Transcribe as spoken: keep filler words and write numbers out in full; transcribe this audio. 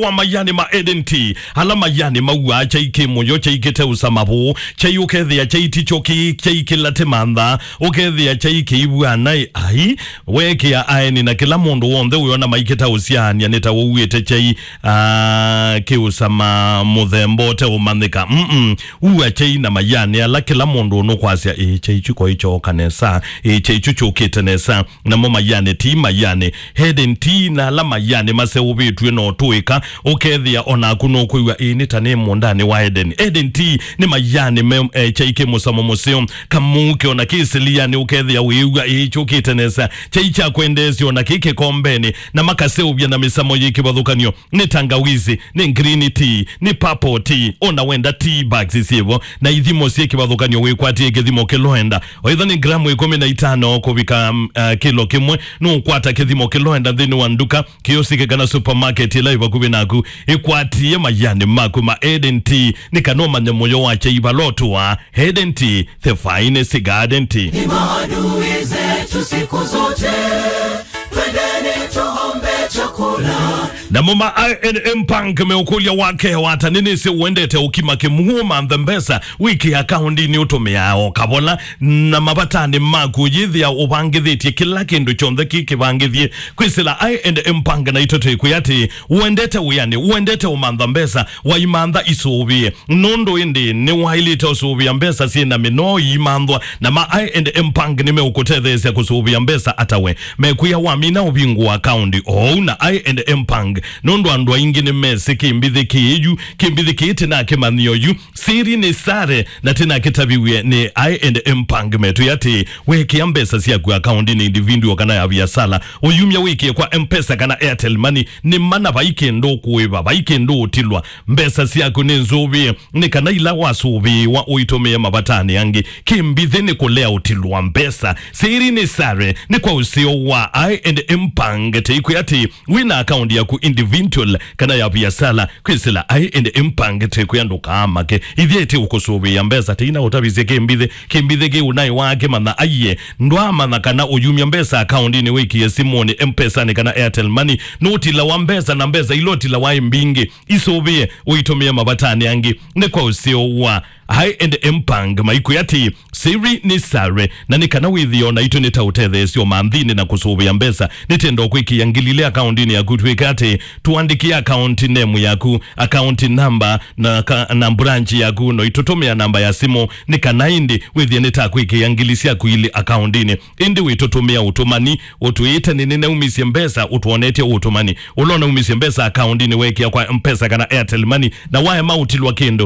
Wa mayanĩ ma Eden Tea, ala mayanĩ mauaa kyai kĩ mũyo, kyai kĩteũsa mavũũ, kyai ũkethĩa kyai ti kyo kĩ, kyai kĩla tĩ mantha, ũkethĩa kyai kĩivw'a naĩ, ai, weekĩa aeni na kĩla mũndũ w'onthe ũyona maikĩtaũsyaany'a nĩ ta ũuĩte kyai, ah, kĩũsa ma mũthemba ũteũmanyĩka. Mm-mm. Ua kyai na mayanĩ ala kĩla mũndũ nũkwasya, ĩĩ, kyai kyu koĩ kyooka nesa, ĩĩ, kyai kyu kyũkĩte nesa. Namo mayanĩ, ti mayanĩ, Eden Tea na ala mayanĩ maseũvĩtw'e no tũĩka, ũkethĩa o naku nũkwĩw'a, ĩĩ, nĩ ta nĩ mũũndanĩ wa Eden. Eden Tea nĩ mayanĩ me, eh, kyai kĩ mũsamo mũseo, kamũuke o na kĩ silianĩ, ũkethĩa wĩĩw'a, ĩĩ, kyũkĩte nesa, kyai kya kwendeesya o na kĩ kĩkombenĩ, na makaseũvya na mĩsamo yĩ kĩvathũkany'o. Nĩ tangawizi, nĩ green tea, nĩ purple tea, o na wenda tea bags syĩvo, na ithimo syĩ kĩvathũkany'o wĩkwatie kĩthimo kĩloenda. Oitha nĩ gramu ĩkũmi na itano kũvika, mm, uh, kĩlo kĩmwe, nũũkwata kĩthimo kĩloenda nthĩnĩ wa nduka, kĩosike kana supermarket ĩla ĩ vakuvĩ naku. Ĩkwatie mayanĩ maku ma Eden Tea, nĩ kana ũmanye mũyo wa kyai vala ũtũaa. Eden Tea, the finest garden tea. Ni maadui zetu siku zote, twendeni tuombe chakula. Namo ma I and M Bank meũkũlya wake wata, nĩnĩsĩ ũendete ũkima kĩmũũ, manthe mbesa, wĩkĩe akaũndinĩ ũtũmĩaa o kavola, na mavatanĩ maku ũyĩthĩa ũvangĩthĩtye kĩla kĩndũ kyonthe kĩ kĩvangĩthye. Kwĩsĩla I and M Bank naitũ twĩkwĩa atĩ, ũendete wĩanĩ, ũendete ũmantha mbesa, waimantha isũvĩe. Nũndũ ĩndĩ nĩwaĩlĩte ũsũvĩa mbesa syĩ na mĩnoo iimanthwa, na ma I and M Bank nĩmeũkũtetheesya kũsũvĩa mbesa ata we. Mekwĩa wamina ũvingũa akaũndi oou na I and M Bank, nũndũ andũ aingĩ nĩmesĩ kĩmbithĩ kĩĩ yu, kĩmbithĩ kĩĩ tĩnakĩmanyĩa oyu, siri nĩ sare, na tĩnakĩtaviw'e nĩ I and M Bank. Metwĩa atĩ, wekĩa mbesa syaku akaũndinĩ individual kana ya viasala, ũyumya wĩkĩe kwa M-Pesa kana Airtel Money, nĩ mana vai kĩndũ ũkũĩva, vai kĩndũ ũtilwa. Mbesa syaku nĩ nzũvĩe, nĩ kana ila wasũvĩĩwa ũitũmĩe mavatanĩ angĩ. Kĩmbithĩ nĩ kũlea ũtilwa mbesa. Siri nĩ sare, nĩ kwa ũseo wa I and M Bank. Tĩikwĩa atĩ wĩ na akaũndi yaku individual kana ya viasala, kwĩsĩla I and M Bank tĩkwĩa ndũkaamake. Ithyĩ tĩ ũkũsũvĩĩa mbesa, tĩina ũtavisye kĩmbithĩ. Kĩmbithĩ kĩu naĩ wakĩmanya aiye, ndwaamanya kana ũyumya mbesa akaũndinĩ wĩkĩe simũnĩ, M-Pesanĩ kana Airtel Money, nũtilawa mbesa, na mbesa ila ũtilawa ĩ mbingĩ. Isũvĩe ũitũmĩe mavatanĩ angĩ. Nĩ kwa ũseo wa I and M Bank, maikwĩa atĩ, siri nĩ sare, na nĩ kana wĩthĩe o naitũ nĩ ta ũtetheesyo manthinĩ na kũsũvĩa mbesa. Nĩtenda kwĩkĩa ngili ilĩ akaũndinĩ yaku, twĩke atĩ, tũandĩkĩe akaũndi nemu yaku, akaũndi namba, na ka, na branch yaku, no itũtũmĩa namba ya simũ, nĩ kana ĩndĩ wĩthĩe nĩ ta kwĩkĩa ngili syaku ilĩ akaũndinĩ. Ĩndĩ wĩtũtũmĩa ũtũmani, ũtwĩĩte nĩ nĩnaumisye mbesa, ũtwonetye ũtũmani. Ũla ũnaumisye mbesa akaũndinĩ weekĩa kwa M-Pesa kana Airtel Money, na waema ũtilwa kĩndũ,